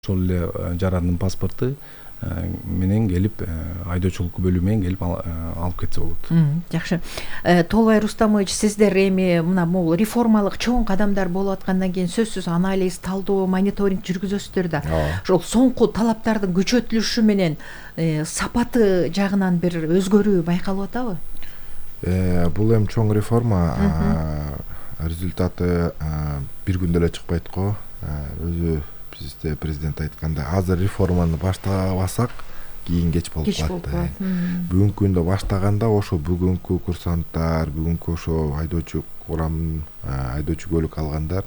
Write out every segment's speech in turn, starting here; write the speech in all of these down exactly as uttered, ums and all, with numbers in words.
ошол эле жарандын паспорту менен келип айдоочулук бөлүмү менен келип алып кетсе болот. Жакшы. Толбай Рустамович, сиздер эми мына бул реформалык чоң кадамдар болуп аткандан кийин сөзсүз анализ, талдоо, мониторинг жүргүзөсүздөр да. Ошол соңку талаптардын күчөтүлүшү менен сапаты жагынан бир өзгөрүү байкалып атабы? Бул эми чоң реформа, результаты бир күндө эле чыкпайт го. Өзү бизде президент айткандай, азыр реформаны баштабасак, кийин кеч болуп калат. Бүгүнкү күндө баштаганда ошо бүгүнкү курсанттар, бүгүнкү ошо айдоочу курам, айдоочу көлүк алгандар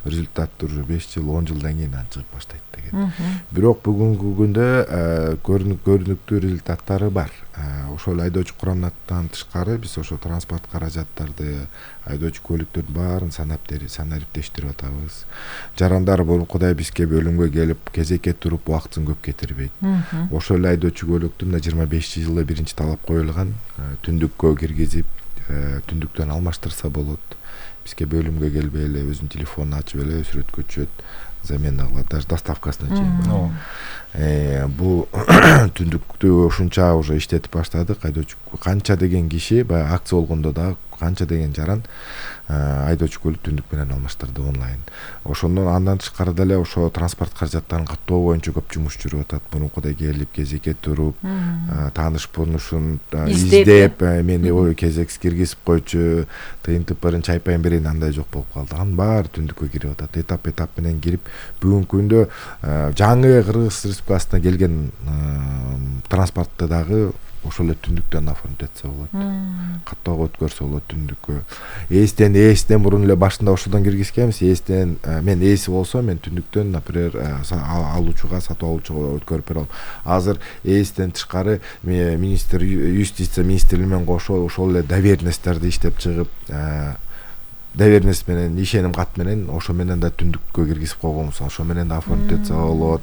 результаты уже беш жыл, он жылдан кийин чыгып баштайт деген. Бирок бүгүнкү күндө көрүнүктүү результаттары бар. Ошол айдоочу курамдан тышкары биз ошо транспорт каражаттарды, айдоочу көлүктөрдүн баарын санап санариптештирип атабыз. Жарандар бурункудай бизге бөлүмгө келип, кезекке туруп убактысын көп кетирбейт. Ошол эле айдоочу көлүктүн жыйырма бешинчи жылы биринчи талап коюлган, түндүккө киргизип, түндүктөн алмаштырса болот. Бизге бөлүмгө келбей эле өзүнүн телефонун ачып эле сүрөткө түшөт, замена кылат, даже доставкасына чейин. Бул түндүктү ушунча уже иштетип баштадык. Айдоочу канча деген киши, баягы акция болгондо да канча деген жаран айдоочу көлүк түндүк менен алмаштырды онлайн. Ошондон андан тышкары деле ошо транспорт каражаттарын каттоо боюнча көп жумуш жүрүп атат. Мурункудай келип, кезекке туруп, тааныш-бонушун издеп, мени ой кезексиз киргизип койчу, тыйын-тыпырын чайпайын берейин, андай жок болуп калды. Анын баары түндүккө кирип атат. Этап-этап менен кирип, бүгүнкү күндө жаңы Кыргыз Республикасына келген транспортты дагы ошол эле түндүктөн оформить этсе болот. Каттоого өткөрсө болот түндүккө. Эстен эстен мурун эле башында ошодон киргизгенбиз. Эстен мен эси болсо, мен түндүктөн, например, алуучуга, сатып алуучуга өткөрүп бере алам. Азыр эстен тышкары министр, юстиция министрлиги менен кошо ошол эле доверенностьтерди иштеп чыгып, доверенность менен, ишеним кат менен ошо менен да түндүккө киргизип койгонбуз. Ошо менен да оформить этсе болот.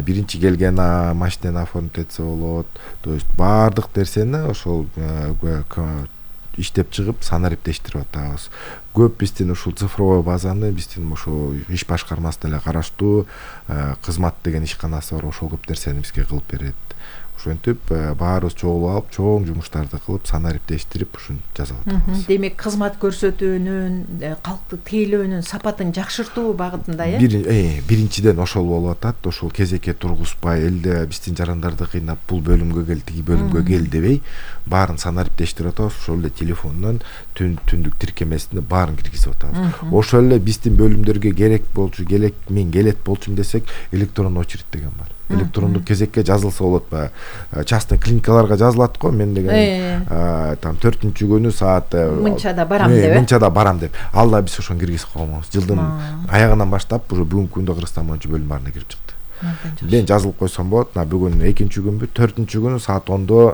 Биринчи келген машинени оформить этсе болот. То есть баардык нерсени ошол иштеп чыгып санариптештирип атабыз. Көп биздин ушул цифровой базаны биздин ошо иш башкармасы деле караштуу, кызмат деген ишканасы бар, ошол көп нерсени бизге кылып берет. Ошентип баарыбыз чогулуп алып, чоң жумуштарды кылып, санариптештирип ушун жасап атабыз. Демек, кызмат көрсөтүүнүн, калкты тейлөөнүн сапатын жакшыртуу багытында, э? Биринчиден ошол болуп атат. Ошол кезекке тургузбай, элде биздин жарандарды кыйнап, бул бөлүмгө кел, тиги бөлүмгө кел дебей, баарын санариптештирип атабыз. Ошол эле телефондон түндүк тиркемесине баарын киргизип атабыз. Ошол эле биздин бөлүмдөргө керек болчу, келек мен келет болчумун десек, электрондук очередь деген бар. Электрондук кезекке жазылса болот баягы. Частный клиникаларга жазылат го, мен деген там төртүнчү күнү саат мынчада барам деп. Мынчада барам деп. Ал да биз ошону киргизип койгонбуз. Жылдын аягынан баштап уже бүгүнкү күндө Кыргызстан боюнча бөлүм баарына кирип чыкты. Мен жазылып койсом болот. Бүгүн экинчи күнбү, төртүнчү күнү саат ондо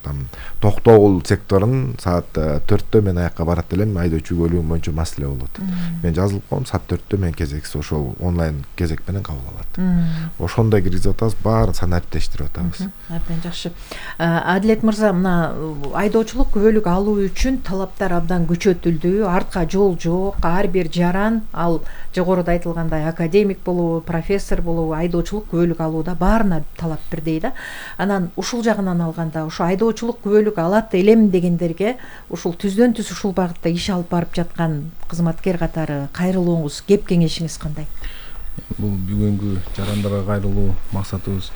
там Токтогул секторунун саат төрттө мен аякка барат элем, айдоочу көлүгүм боюнча маселе болот. Мен жазылып койдум, саат төрттө мен кезексиз ошол онлайн кезек менен кабыл алат. Ошондой киргизип атабыз, баарын санариптештирип атабыз. Абдан жакшы. Адилет мырза, мына айдоочулук күбөлүк алуу үчүн талаптар абдан күчөтүлдү. Артка жол жок. Ар бир жаран, ал жогоруда айтылгандай академик болобу, профессор болобу, айдоочулук күбөлүк алууда баарына талап бирдей да. Анан ушул жагынан алганда, ушу айдоочулук күбөлүк алат элем дегендерге ушул түздөн түз ушул багытта иш алып барып жаткан кызматкер катары кайрылууңуз, кеп кеңешиңиз кандай? Бул бүгүнкү жарандарга кайрылуу максатыбыз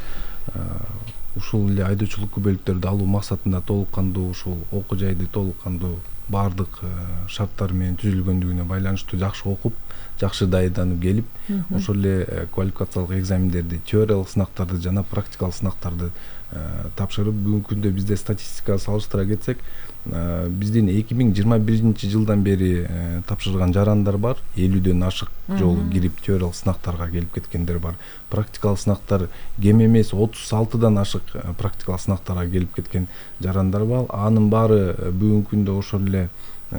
ушул эле айдоочулук күбөлүктөрдү алуу максатында толук кандуу, ушул окуу жайды толук кандуу баардык шарттар менен түзүлгөндүгүнө байланыштуу жакшы окуп, жакшы даярданып келип, ошол эле квалификациялык экзамендерди, теориялык сынактарды жана практикалык сынактарды тапшырып, бүгүнкү күндө бизде статистикага салыштыра кетсек, биздин эки миң жыйырма биринчи жылдан бери тапшырган жарандар бар, элүүдөн ашык жолу кирип теориялык сынактарга келип кеткендер бар. Практикалык сынактар кем эмес отуз алтыдан ашык практикалык сынактарга келип кеткен жарандар бар. Анын баары бүгүнкү күндө ошол эле